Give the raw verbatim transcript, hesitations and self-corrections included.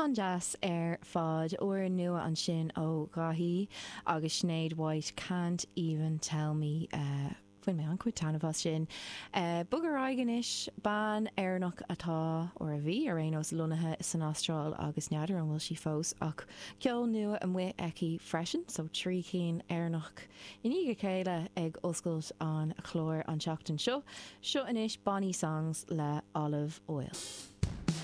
An-deas ar fad úr nua ansin ó Dhaithí agus Sinéad White can't even tell me uh, Bhain mé an-chuid taitneamh as sin. Uh, Bog ar aghaidh anois bean Éireannach atá ó a bhí ar aon nós lonnaithe san Astráil agus n'fheadar an bhfuil sí fós ach ceol nua amuigh aici freisin, so trí cinn Éireannach i ndiaidh a chéile ag oscailt an chláir an tseachtain seo, seo anois Bonnie Songs le Olive Oil.